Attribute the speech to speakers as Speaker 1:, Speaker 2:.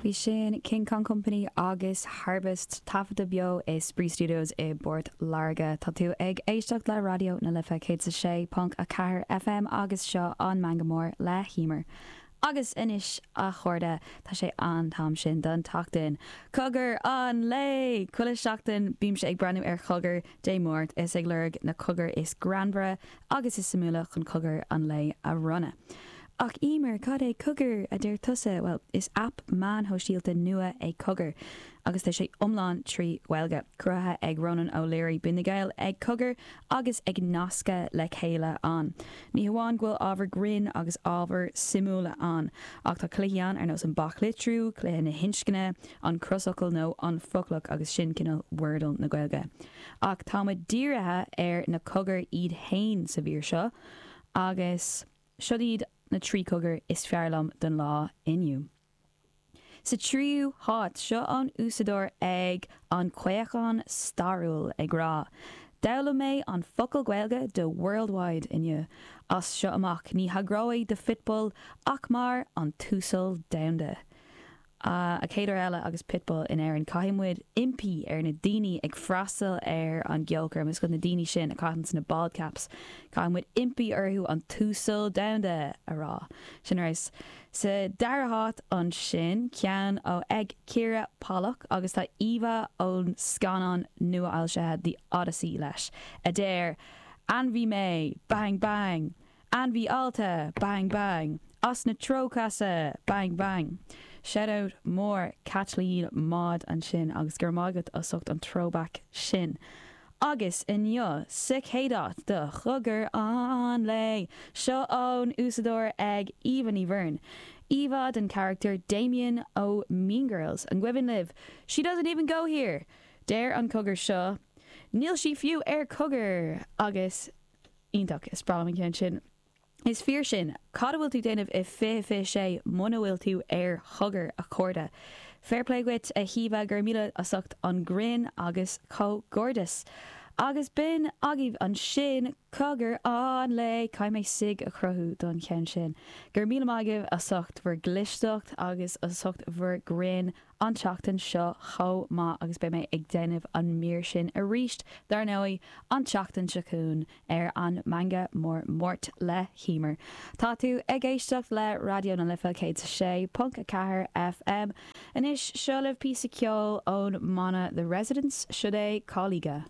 Speaker 1: Bhí sin King Kong Company agus Harvest, taifeadta beo i Spraoi Studios i bPort Láirge. Tá tú ag éisteacht le Raidió na Life 106.4 FM agus seo an Meangadh Mór le hEmer. Agus anois a chairde, tá sé an t-am sin don tseachtain. Cogar an lae! Chuile sheachtain bímse ag breathnú ar chogar Dé Máirt is ag lorg na cogair is greannmhaire agus is suimiúla chun cogar an lae a bhronnadh. Ach Emer, cad é Cogar, a deir tusa? Bhuel, is aip meáin shóisialta nua é Cogar agus tá sé iomlán trí Ghaeilge. Cruthaithe ag Ronan O'Leary, bíonn na Gaeil ag cogar agus ag nascadh le chéile ann. Ní hamháin go bhfuil ábhar grinn agus ábhar suimiúla ann, ach tá cluichí ann ar nós an baclitriú, cluiche na hinscne, an crosfhocal nó an foclach agus sin cineál Wordle na Gaeilge. Ach tá muid dírithe ar na cogair iad fhéin sa mhír seo agus. Siod iad na 3 cogar is fearr liom don lá inniu. Sa tríú háit, seo ón úsáideoir ag An Caochán Stairiúil ag rá, D'fhoghlaim mé an focal Gaeilge do worldwide inniu. As seo amach, ní thagróidh do Phitbull ach mar an tUasal Domhanda. An chéad uair eile agus Pitbull in Éirinn, caithfidh muid impí ar na daoine ag freastal ar an gceolchoirm, is na daoine sin a chaitheanns na bald caps, caithfidh muid impí orthu an tUasal Domhanda a rá. Sin ar fheabhas. Sa dara háit ansin, ceann ó ag Ciara Pollock agus tá íomhá ón scannán nua-fhoilsithe The Odyssey leis, a deir, Ainmhí mé! Bang bang! Ainmhí allta! Bang bang! As na Trócaise! Bang bang! Shout out mór Caitlín Maude ansin agus go raibh maith agat as ucht an throwback sin. Agus inniu sa chéad áit do Chogar an Lae! Seo ón úsáideoir ag Eva Ní Bheirn. Íomhá den charachtar Damian ó Mean Girls. An gcuimhin libh? She doesn't even go here! Deir an cogar seo, Níl sí fiú ar cogar! Agus. Iontach, is breá liom an ceann sin. Is fíor sin. Cad a bhfuil tú déanamh i 2026 muna bhfuil tú ar chogar, a chairde? Fair play dhuit, a hÍomha, go raibh míle as ucht an grinn agus comhghairdeas. Agus b'in agaibh ansin cogar an lae! Caithfidh mé sig a chruthú don cheann sin. Go raibh míle maith agaibh as ucht bhur gclisteacht agus as ucht bhur grinn an tseachtain seo chomh maith agus beidh mé ag déanamh an mír sin arís, dar ndóigh, an tseachtain seo chugainn ar an Meangadh Mór Máirt le hEmer. Tá tú ag éisteacht le Raidió na Life 106.4 FM. Anois, seo libh píosa ceoil ón mbanna The Residents, siod é Coliga.